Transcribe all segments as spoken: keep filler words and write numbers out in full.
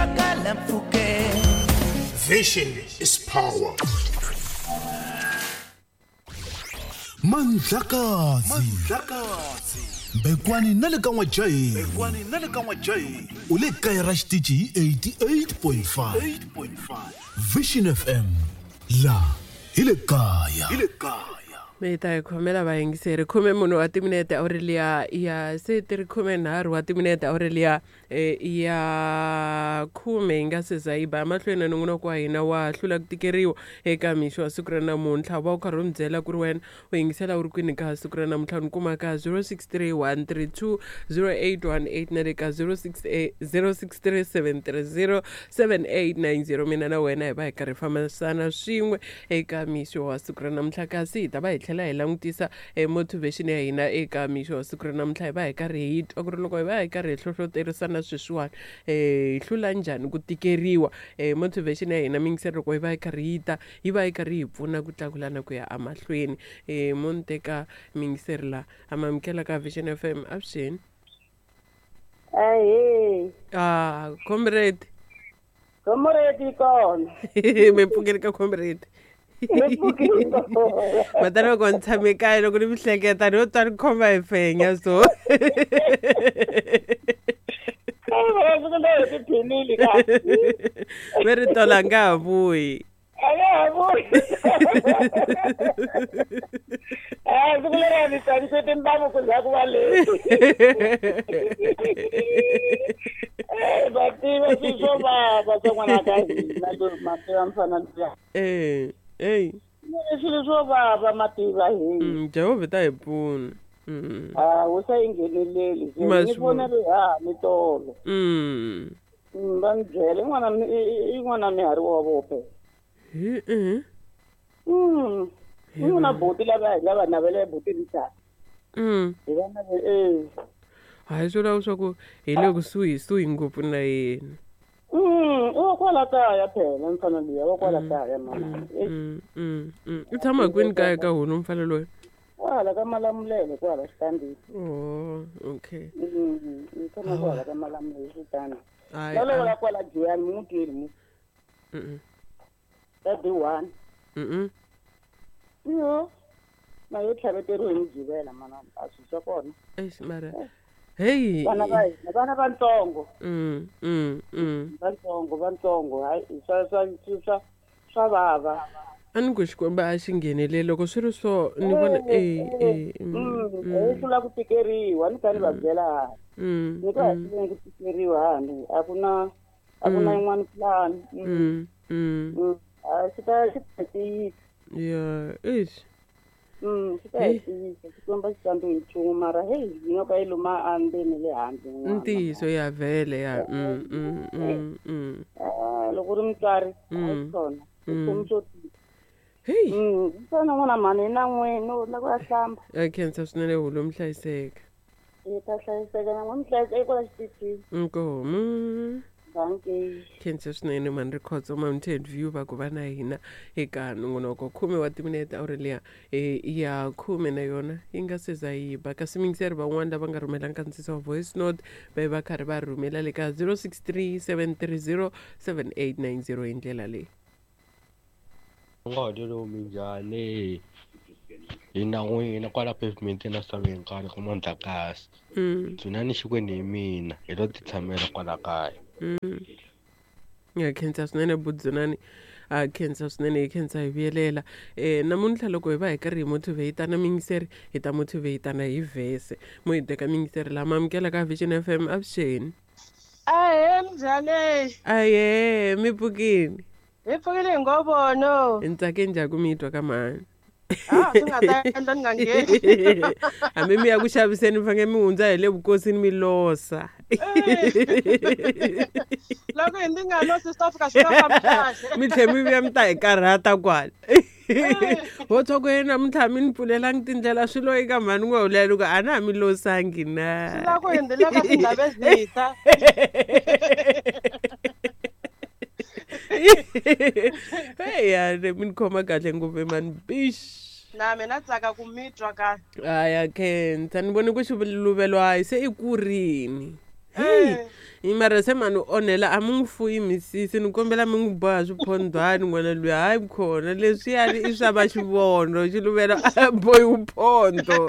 twakala mpfhukeni. Vision is power. Mandlakazi Mbekwani na le ka N'wajahi Mbekwani na le ka N'wajahi u le kaya ra xitichi hi eighty-eight point five Vision F M la hi le kaya hi le kaya. Mi ta hi khomela vayingiseri khume munhu wa timinete Aurelia ya se ti ri khume nharhu wa timinete Aurelia ya khume yi nga se za yi ba mahlweni na nongonoko wa hina wa hlula ku tikeriwa eka mixo wa siku ra namuntlha. Va u karhi u mi byela ku ri wena u yingisela u ri kwini ka siku ra namuntlha ni kuma ka zero six three one three two zero eight one eight na le ka zero six eight zero six three seven three zero seven eight nine zero. Mina na wena hi va hi karhi fambisana swin'we eka mixo wa siku ra namuntlha, kasi hi ta va hi tlhela hi langutisa motivation ya hina eka mixo wa siku ra namuntlha. Hi va hi karhi hi twa ku ri loko hi va hi karhi hi hlohloterisana sweswiwani eh hi hlula njhani ku tikeriwa. Eh motivation ya hina mingiseri loko hi va hi karhi yi ta yi va yi karhi hi pfuna ku tlakulana ku ya emahlweni. Eh mo ni teka mingiseri la amamukela ka Vision F M. Avuxeni. Ahee. Ah, comrade. Comrade kona. Mi pfukeli ka comrade. Matana loko ni tshame kaya loko ni mi hleketa ni yo twa ni khoma hi fenya so. Ve ri tola nga ha vuyi. A nga ha vuyi. A siku leri a ni tsakise timbamu ku za ku va leti. Va tiva swilo swo vava swa n'wana ka hina ma tiva mfana luya. Eh, hey. Swilo swo vava ma tiva hi. Jehovha ta hi pfuna. Mm. Ah, wu sa yi ngheneleli. Ni vona ri ha ni tolo. Mm. Va ni byela i n'wana i n'wana mihari wa vope. Hi eh. Mm. I n'wana buti lava lava navela buti ritata. Mm. Hi va navela eh. Hayi swi vula leswaku hi le kusuhi suhi ngopfu na yena. Mm, i wa kwala kaya phela mfana luya wa kwala kaya mama. Mm, mm, mm. U tshama kwini kaya ka hona mfana loyi? Kwala ka Malamulele kwala xitandini. Oh, okay. Mm, u tshama kwala ka Malamulele xitandini. Hayi. Lolo kwala Giyani mu twile mu. Mm. Ka B one. Mm. Yo. Na yo tlhaveteriwe hi Mugqivela mana a swi swa kona. Eish mara. Hey. Vana va hina vana vantsongo. Mm, mm, mm. Vantsongo vantsongo hayi swa swa swa swa vava. A ni ku Xikwembu a xi ngheneleli loko swi ri so ni vona eh eh eh hlula ku tikeriwa ni kha ni va byela ha. Mm. Ni ku ha ku tikeriwa hani a ku na a ku na yin'wana plan. Mm. Mm. A xi ta xi ta tiyisa. Yeah, eish. Mm, xi ta hi tiyisa Xikwembu xi tsandziwi hi nchumu mara hey nyoka yi luma endzeni le handle. Ntiyiso ya vhele ya mm mm mm mm. Ah, loko u ri mutswari a swona. Nchumu xo tika. Hey. Mm, mfana n'wana mhani na n'wina u la ku ya hlamba. A khensa swinene hulu mi hlayiseka. Yi ta hlayiseka na n'we mi hlayiseka kwala xitichini. Inkomu. Dankie. Khensa swinene mhani Rikhotso Mountain View va ku va na hina eka nongonoko khume wa timinete Aurelia ya khume na yona yi nga se za yi ba. Kasi mingiseri van'wani lava nga rhumelanga nkandziyiso wa voice note va va karhi va rhumela le ka zero six three seven three zero seven eight nine zero hi ndlela leyi. Ngodelo minjhani hi na n'wina kwala pavement na saveni nkarhi ku Mandlakazi. Mm. Dzunani Xikwembu hi mina hi lo ti tshamela kwala kaya. Mm. Ya khensa swinene Budzunani. A khensa swinene hi khensa hi vuyelela. Eh namuntlha loko hi va hi karhi hi motivatana mingiseri hi ta motivatana hi vhese. Mo hi teka mingiseri lama amukela ka Vision F M. Avuxeni. Ahee minjhani? Ahee mi pfukini. Hi pfukile hi ngovono. Ni tsake njhani ku mi twa ka mhani? Ah, swi nga ta endla ni nga ngheni. Hambi mi ya ku xaviseni mi fanele mi hundza hi le vukosini mi losa. Loko hi ndzi nga losi swi ta fika swi nga fambi kahle. Mi tlhela mi vuya mi ta hi karhata kwala. Ho twa ku yena namuntlha mi ni pfulelangi tindlela swilo eka mhani n'we hulela loko a na ha mi losangi na. Swi la ku hi ndzi le ka tindhawu ezita. Hey ya mi ni khoma kahle ngopfu mani bish. Na mina tsaka ku mi twa ka. Aya khensa ni vone ku xiluvelo hayi se i kurini. Hey, mara se mani u onhela a mi n'wi fuyi misisi ni kombela mi n'wi boha swiphondwani n'wana luya hayi khona leswiyani i swa va xivono xiluvela a bohi phondo.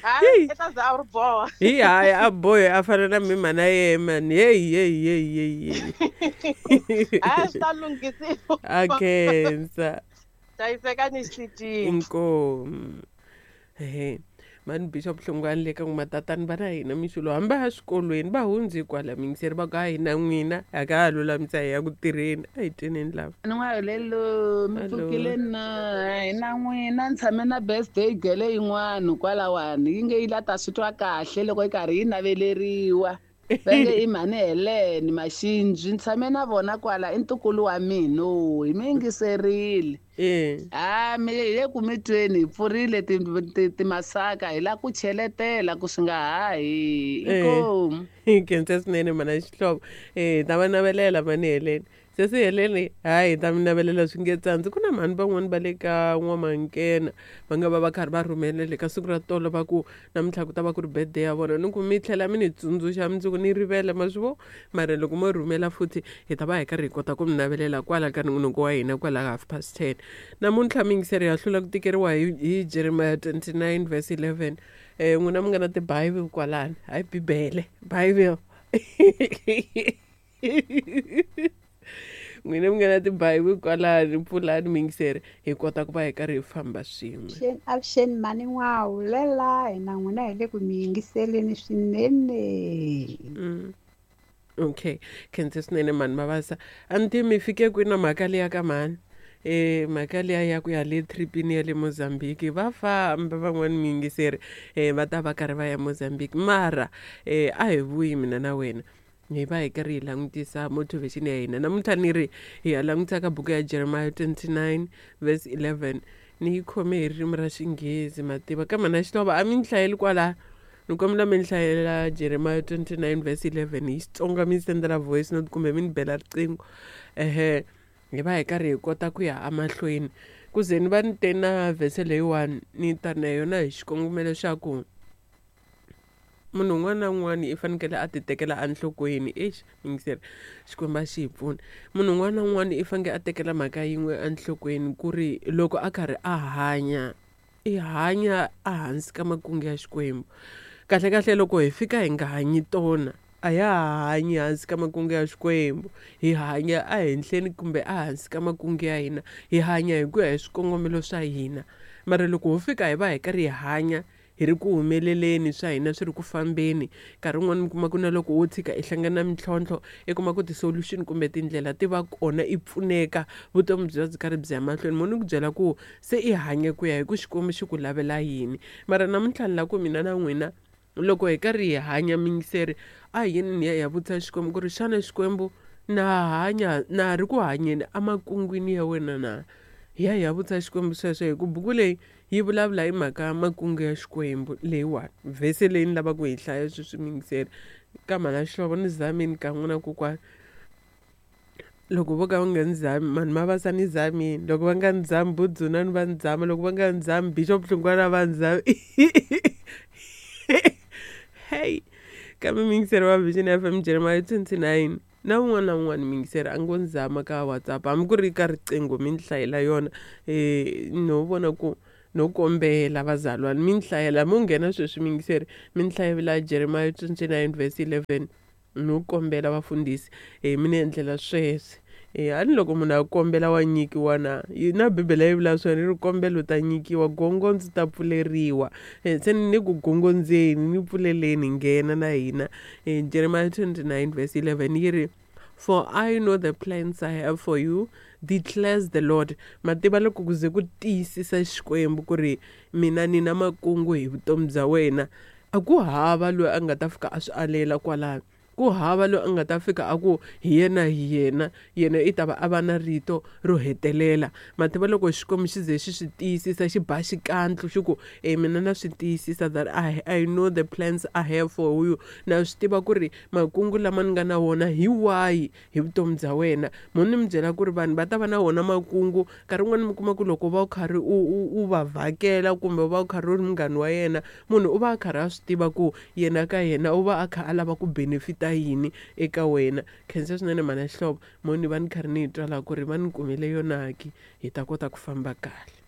Hayi i ta za a ri boha. Hi hayi a bohi a fana na mi mhana yehe mani heyi heyi heyi heyi Hayi swi ta lunghisiwa. A khensa. Hlayiseka ni xitichi. Inkomu. Ehe. Mani Bishop Hlongwane le ka n'wi matatani va na hina mixo hambi a swikolweni va hundzi kwala mingiseri va ku a hina n'wina a ka ha lulamisa hi ya ku tirheni a hi tweneni lava. Hello, mi pfukile na hina n'wina ni tshame na birthday girl yin'wana kwalawani yi nge yi la ta swi twa kahle loko yi karhi yi naveleriwa va nge i mhani Helen Maxinji ni tshame na vona kwala i ntukulu wa mina hi mi yingiserile. Ah mi hi le ku mi tweni hi pfurile timasaka hi la ku cheletela ku swi nga hahi inkomu. Hi khensa swinene mhana Xihlovo eh ta va navelela mhani Helen sesi Helen hayi ta mi navelela swi nge tsandzi ku na mhani van'wani va le ka N'wamankena va nga va va karhi va rhumelele ka siku ra tolo va ku namuntlha ku ta va ku ri birthday ya vona ni ku mi tlhela mi ni tsundzuxa mundzuku ni rivele ma swi vo mara loko mo rhumela futhi hi ta va hi karhi hi kota ku mi navelela kwala ka nongonoko wa hina kwala half past ten namuntlha mingiseri ya hlula ku tikeriwa hi hi Jeremiah twenty-nine verse eleven eh n'wina mi nga na ti-Bible kwalani hayi Bibele Bible n'wina mi nga na ti-Bible kwalani pfulani mingiseri hi kota ku va hi karhi hi famba swin'we. Avuxeni mhani N'wahulela hina n'wina hi le ku mi yingiseleni swinene. Mm. Okay, khensa swinene mhani Mabasa a ni tivi mi fike kwini na mhaka liya ka mhani eh mhaka liya ya ku ya le tripini ya le Mozambique va famba van'wani miyingiseri eh va ta va karhi va ya Mozambique mara eh a hi vuyi mina na wena hi va hi karhi hi langutisa motivation ya hina namuntlha ni ri hi ya langutisa ka buku ya Jeremiah twenty-nine verse eleven ni yi khome hi ririmi ra Xinghezi mativa ka mhana Xihlovo a mi ni hlayeli kwala ni kombela mi ni hlayela Jeremiah twenty-nine verse eleven hi Xitsonga mi sendela voice note kumbe mi ni bela riqingho ehe hi va hi karhi hi kota ku ya emahlweni ku ze ni va ni te na vhese leyiwani ni ta na yona hi xikongomelo xa ku munhu un'wana na un'wana i fanekele a ti tekela enhlokweni exi mingiseri Xikwembu a xi hi pfuna munhu un'wana na un'wana i fanekele a tekela mhaka yin'we enhlokweni ku ri loko a karhi a hanya i hanya ehansi ka makungu ya Xikwembu kahle kahle loko hi fika hi nga hanyi tona a ya ha hanyi hansi ka makungu ya Xikwembu hi hanya ehenhleni kumbe ehansi ka makungu ya hina hi hanya hi ku ya hi swikongomelo swa hina mara loko ho fika hi va hi karhi hi hanya hi ri ku humeleleni swa hina swi ri ku fambeni nkarhi wun'wani mi kuma ku na loko wo tshika i hlangana na mintlhontlho i kuma ku ti-solution kumbe tindlela ti va kona i pfuneka vutomi byi va byi karhi byi ya mahlweni mo ni ku byela ku se i hanya ku ya hi ku Xikwembu xi ku lavela yini mara namuntlha ni la ku mina na n'wina loko hi karhi hi hanya mingiseri a hi yeni ni ya hi ya vutisa Xikwembu ku ri xana Xikwembu na hanya na ha ri ku hanyeni emakungwini ya wena na hi ya hi ya vutisa Xikwembu sweswo hi ku buku leyi yi vulavula hi mhaka makungu ya Xikwembu leyiwani vhese leyi ni lavaka ku yi hlaya sweswi mingiseri ka mhana Xihlovo ni zamini ka n'wina kokwana loko vo ka va nga ni zami mhani Mabasa ni zamini loko va nga ni zami Budzuna ni va ni zama loko va nga ni zami Bishop Hlongwane va ni zami hey kambe mingiseri wa Vision F M Jeremiah twenty-nine na un'wana na un'wana mingiseri a ngo ni zama ka WhatsApp hambi ku ri ka riqingho mi ni hlayela yona eh no vona ku no kombela vazalwana mi ni hlayela mo nghena sweswi mingiseri mi ni hlayela Jeremiah twenty-nine verse eleven no kombela vafundhisi eh mi ni endlela sweswi eh a ni loko munhu a kombela wa nyikiwa na na Bibele yi vula swona yi ri kombela u ta nyikiwa gongondzi ta pfuleriwa eh se ni ku gongondzeni ni pfuleleni nghena na hina eh Jeremiah twenty-nine verse eleven yi ri for I know the plans I have for you declares the Lord mativa loko ku ze ku tiyisisa Xikwembu ku ri mina ni na makungu hi vutomi bya wena a ku hava loyi a nga ta fika a swi alela kwalano Ku hava loyi a nga ta fika a ku hi yena hi yena, yena i ta va a va na rito ro hetelela. Mativa loko Xikwembu xi ze xi swi tiyisisa xi ba xikandlu xi ku e mina na swi tiyisisa that I, I know the plans I have for you. Na swi tiva ku ri makungu lama ni nga na wona hi wahi hi vutomi bya wena. Mo ni mi byela ku ri vanhu va ta va na wona makungu, nkarhi wun'wani mi kuma ku loko va u karhi u u u va vhakela kumbe va u karhi u ri munghana wa yena, munhu u va a karhi a swi tiva ku yena ka yena u va a kha a lava ku benefita yini eka wena. Khensa swinene mhana Xihlovo, mo ni va ni karhi ni yi twa laha ku ri va ni kumele yona ki hi ta kota ku famba kahle.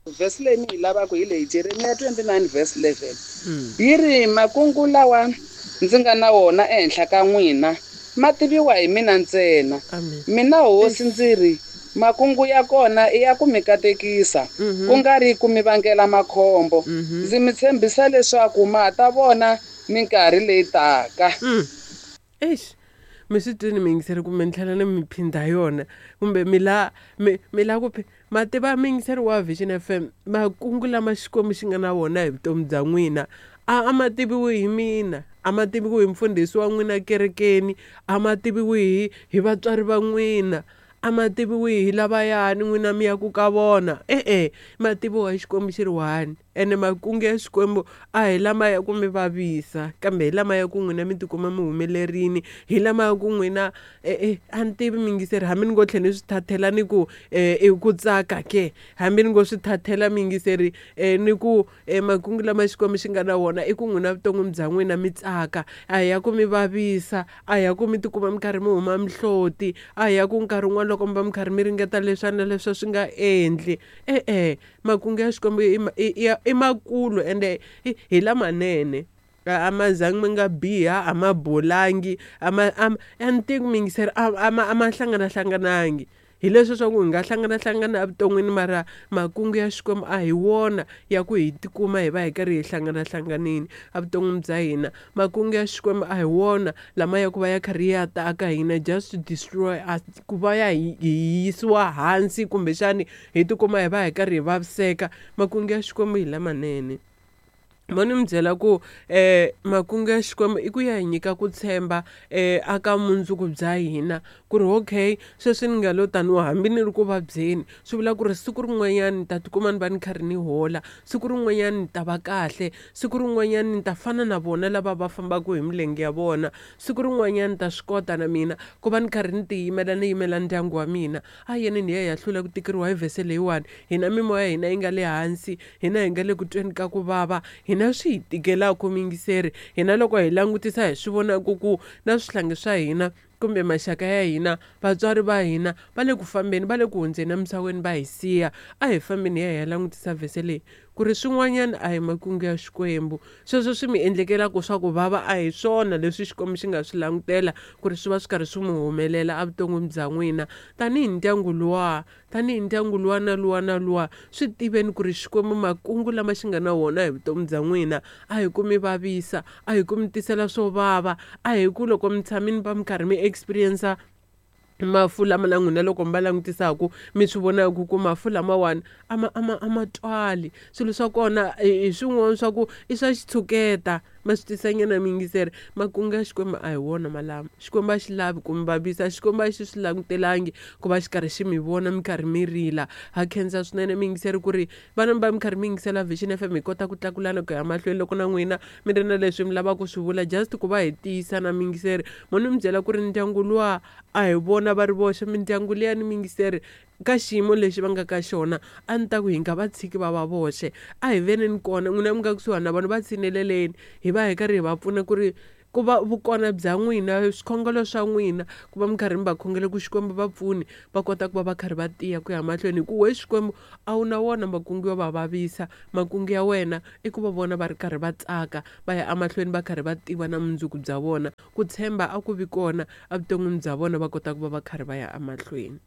Vhesi leyi ni yi lavaka hi leyi, Jeremiya twenty-nine verse eleven. Yi ri makungu lawa ndzi nga na wona ehenhla ka n'wina ma tiviwa hi mina ntsena. Mina hosi ndzi ri makungu ya kona i ya ku mi katekisa, ku nga ri ku mi vangela makhombo. Ndzi mi tshembisa leswaku ma ta vona minkarhi leyi taka. Eish, mi swi twini miyingiseri kumbe ni tlhela ni mi phindha yona kumbe mi la mi mi la ku ma tiva miyingiseri wa Vision F M, makungu lama Xikwembu xi nga na wona hi vutomi bya n'wina a a ma tiviwi hi mina, a ma tiviwi hi mfundhisi wa n'wina kerekeni, a ma tiviwi hi hi vatswari va n'wina, a ma tiviwi hi lavayani n'wina mi ya ku ka vona. E-e, ma tiviwa hi Xikwembu xi ri one. Ene makungu ya Xikwembu a hi lama ya ku mi vavisa, kambe hi lama ya ku n'wina mi tikuma mi humelerini, hi lama ya ku n'wina e-e a ni tivi miyingiseri, hambi ni ngo tlhela ni swi thathela ni ku i ku tsaka ke, hambi ni ngo swi thathela miyingiseri ni ku makungu lama Xikwembu xi nga na wona i ku n'wina vuton'wini bya n'wina mi tsaka, a hi ya ku mi vavisa, a hi ya ku mi tikuma mi karhi mi huma mihloti, a hi ya ku nkarhi wun'wana loko mi va mi karhi mi ringeta leswi na leswi swi nga endli. E-e, makungu ya Xikwembu i i makulu ende hi lamanene. A ma zangi mi nga biha, a ma bolangi, a ma a ni tivi miyingiseri, a ma a ma hlanganahlanganangi. Hi leswi swa ku hi nga hlanganahlangana evuton'wini, mara makungu ya Xikwembu a hi wona ya ku hi tikuma hi va hi karhi hi hlanganahlanganini evuton'wini bya hina. Makungu ya Xikwembu a hi wona lama ya ku va ya karhi ya ta aka hina just to destroy us, ku va ya hi yisiwa hansi kumbexani hi tikuma hi va hi karhi hi vaviseka. Makungu ya Xikwembu hi lamanene. Mo ni mi byela ku eh makungu ya Xikwembu i ku ya hi nyika ku tshemba eh aka mundzuku bya hina, ku ri okay sweswi ni nga lo taniwa hambi ni ri ku vabyeni, swi vula ku ri siku rin'wanyana ni ta tikuma ni va ni karhi ni hola, siku rin'wanyana ni ta va kahle, siku rin'wanyana ni ta fana na vona lava va fambaka hi milenge ya vona, siku rin'wanyana ni ta swi kota na mina ku va ni karhi ni tiyimela ni yimela ndyangu wa mina. A yeni ni ya hi ya hlula ku tikeriwa hi vhese leyiwani. Hina mimoya ya hina yi nga le hansi, hina hi nga le ku tweni ka ku vava, hina swi hi tikelaka miyingiseri. Hina loko hi langutisa hi swi vonaka ku na swihlangi swa hina kumbe maxaka ya hina, vatswari va hina va le ku fambeni, va le ku hundzeni emisaveni va hi siya. A hi fambeni hi ya hi ya langutisa vhese leyi ku ri swin'wanyana a hi makungu ya Xikwembu. Sweswo swi mi endlekelaka swa ku vava a hi swona leswi Xikwembu xi nga swi langutela ku ri swi va swi karhi swi mi humelela evuton'wini bya n'wina. Tanihi ndyangu luwa, tanihi ndyangu luwa na luwa na luwa, swi tiveni ku ri Xikwembu makungu lama xi nga na wona hi vutomi bya n'wina a hi ku mi vavisa, a hi ku mi tisela swo vava, a hi ku loko mi tshamini va mi karhi mi experience mafu lama na n'wina loko mi va langutisaku mi swi vonaka ku mafu lamawani a ma a ma a ma twali. Swilo swa kona hi swin'wana swa ku i swa xitshuketa, ma swi tisanyana miyingiseri. Makungu ya Xikwembu a hi wona malama. Xikwembu a xi lavi ku mi vavisa, Xikwembu a xi swi langutelangi ku va xi karhi xi mi vona mi karhi mi rila. Ha khensa swinene miyingiseri ku ri vana va mi karhi mi yingisela Vision F M, hi kota ku tlakulana ku ya mahlweni loko na n'wina mi ri na leswi mi lavaka ku swi vula, just ku va hi tiyisa na miyingiseri. Mo ni mi byela ku ri ndyangu luwa a hi vona va ri voxe, mindyangu liya ni miyingiseri ka xiyimo lexi va nga ka xona a ni ta ku hi nga va tshiki va va voxe, a hi veneni kona n'wina mi nga kusuhani na vanhu va tshineleleni, hi va hi karhi hi va pfuna ku ri ku va vukona bya n'wina, swikhongelo swa n'wina, ku va mi karhi mi va khongela ku Xikwembu va pfuni va kota ku va va karhi va tiya ku ya mahlweni. Hi ku we Xikwembu a wu na wona makungu yo va vavisa, makungu ya wena i ku va vona va ri karhi va tsaka, va ya emahlweni va karhi va tiva na mundzuku bya vona. Ku tshemba a ku vi kona evuton'wini bya vona, va kota ku va va karhi va ya emahlweni.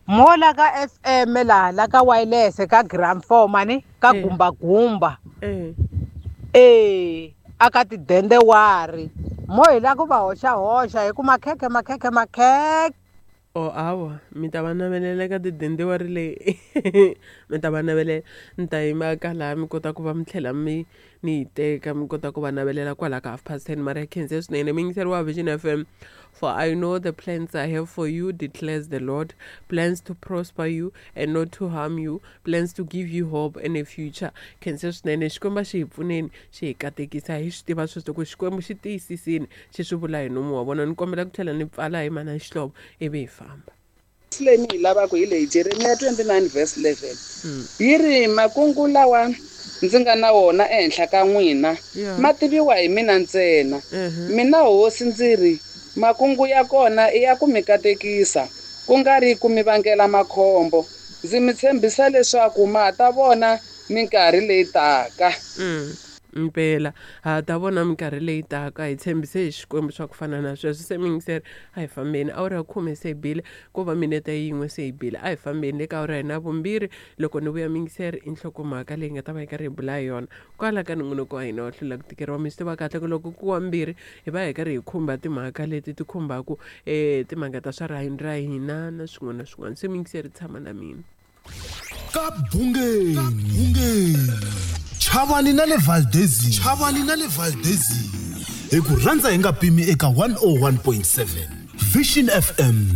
Mola ka F M la la ka wireless ka gram four mani ka gumba gumba eh eh aka tidende wari mo hi la ku va hoxa hoxa hi ku makhekhe makhekhe makhekhe. Oh awa mi ta va navelela ka tidende wari leyi mi ta va navelela ni ta yima ka laha mi kota ku va mi tlhela mi ni yi teka mi kota ku va navelela kwala ka half past ten mara khense swinene mi yingiseri wa Vision F M. For I know the plans I have for you, declares the Lord, plans to prosper you and not to harm you, plans to give you hope and a future. Khense swinene Xikwembu xi hi pfuneni xi hi katekisa hi swi tiva sweswo ku Xikwembu xi tiyisisini xi swi vula hi nomu wa vona. Ni kombela ku tlhela ni pfala hi mana Xihlovo ivi hi famba. Leyi ni yi lavaka hi leyi Jeremiah twenty-nine verse eleven yi ri makungu lawa ndzi nga na wona ehenhla ka n'wina ma tiviwa hi mina ntsena. Mina hosi ndzi ri makungu ya kona i ya ku mi katekisa ku nga ri ku mi vangela makhombo. Ndzi mi tshembisa leswaku ma ta vona minkarhi leyi taka. Mpela ha ta vona minkarhi leyi taka hi tshembise hi Xikwembu swa ku fana na sweswo. Se mingiseri a hi fambeni awara ya khume se hi bile ko va minete yin'we se hi bile a hi fambeni le ka awara hina vumbirhi loko ni vuya mingiseri i nhlokomhaka leyi nga ta va yi karhi hi bula hi yona kwala ka nongonoko wa hina wa hlula ku tikeriwa. Mi swi tiva kahle ku loko ku wa mbirhi hi va hi karhi hi khumba timhaka leti ti khumbaku um timhaka ta swa rihanyo ra hina na swin'wana na swin'wana. Se mingiseri tshama na mina ka bungeni Chavani na le Valdezi Chavani na le Valdezi hi ku rhandza hi nga pimi eka one oh one point seven Vision F M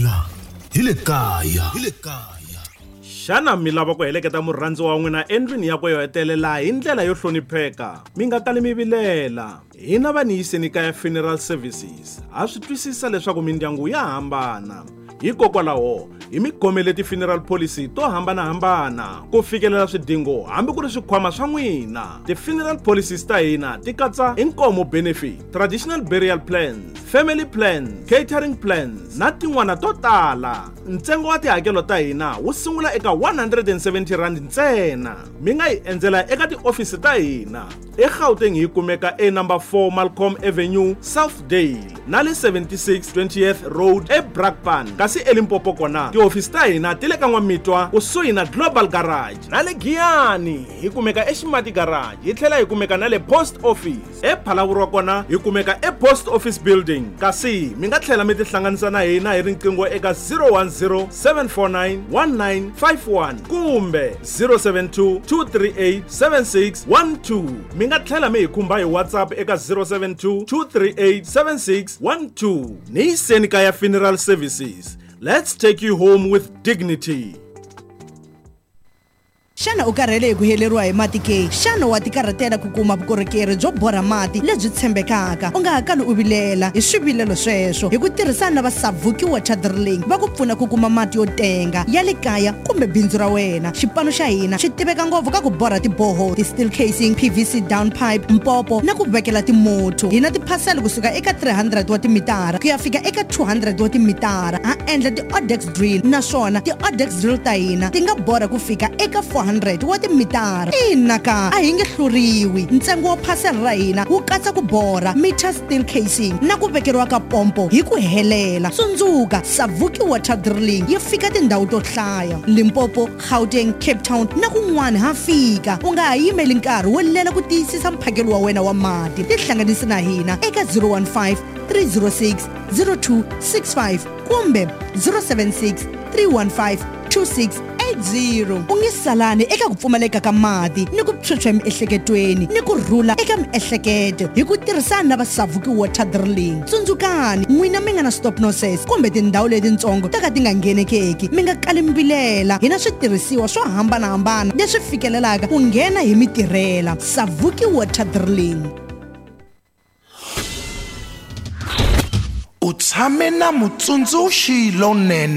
la hi le kaya hi le kaya. Xana mi lava ku heleketa murhandzi wa n'wina endlwini yakwe yo hetelela hi ndlela yo hlonipheka? Mi nga kali mi vilela. Hina va ni yiseni kaya Funeral Services ha swi twisisa leswaku mindyangu ya hambana. Hikokwalaho hi mi khomele ti-funeral policy to hambanahambana ku fikelela swidingo hambi ku ri swikhwama swa n'wina. Ti-funeral policies ta hina ti katsa inkomo benefit, traditional burial plans, family plans, catering plans na tin'wana to tala. Ntsengo wa tihakelo ta hina wu sungula eka one hundred and seventy rand ntsena. Mi nga hi endzela eka tiofisi ta hina eGauteng hi kumeka e number four Malcolm Avenue, Southdale na le seventy-six twentieth Road eBrakpan. Kasi eLimpopo kona tiofisi ta hina ti le ka N'wamitwa kusuhi na Global Garage na le Giyani hi kumeka eXimati Garage hi tlhela hi kumeka na le Post Office. ePhalaborwa kona hi kumeka ePost Office Building. Kasi mi nga tlhela mi tihlanganisa na hina hi riqingho eka zero one zero seven four nine one nine five one kumbe zero seven two two three eight seven six one two. Mi nga tlhela mi hi khumba hi WhatsApp eka zero seven two two three eight seven six one two. Ni yiseni kaya Funeral Services. Let's take you home with dignity. Xana u karhele hi ku heleriwa hi mati ke? Xana wa tikarhatela ku kuma vukorhokeri byo borha mati lebyi tshembekaka? U nga ha kali u vilela hi swivilelo sweswo hi ku tirhisana na va Savuki Water Drilling va ku pfuna ku kuma mati yo tenga ya le kaya kumbe bindzu ra wena. Xipano xa hina xi tiveka ngopfu ka ku borha tiboho, ti-steel casing, P V C down pipe, mpopo na ku vekela timotho. Hi na tiphasela kusuka eka three hundred wa timitara ku ya fika eka two hundred wa timitara. Ha endla ti-odex drill naswona ti-odex drill ta hina ti nga borha ku fika eka four hundred wa timitara. Ina ka a hi nge hluriwi. Ntsengo wa phasela ra hina wu katsa ku borha meter steel casing na ku vekeriwa ka pompo hi ku helela. Tsundzuka, Savuki Water Drilling yi fika tindhawu to hlaya: Limpopo, Gauteng, Cape Town na kun'wana ha fika. U nga ha yimeli nkarhi wo lela ku tiyisisa mphakelo wa wena wa mati. Tihlanganisi na hina eka zero one five three zero six zero two six five kumbe zero seven six three one five two six zero. U nge salani eka ku pfumaleka ka mati ni ku phyuphya emiehleketweni ni ku rhula eka miehleketo hi ku tirhisana na va Savuki Water Drilling. Tsundzukani, n'wina mi nga na stop nonsense kumbe tindhawu letitsongo ta ka ti nga nghenekeki, mi nga kali mi vilela. Hi na switirhisiwa swo hambanahambana leswi fikelelaka ku nghena hi mitirhela. Savuki Water Drilling. U tshame na mutsundzuxi lonene.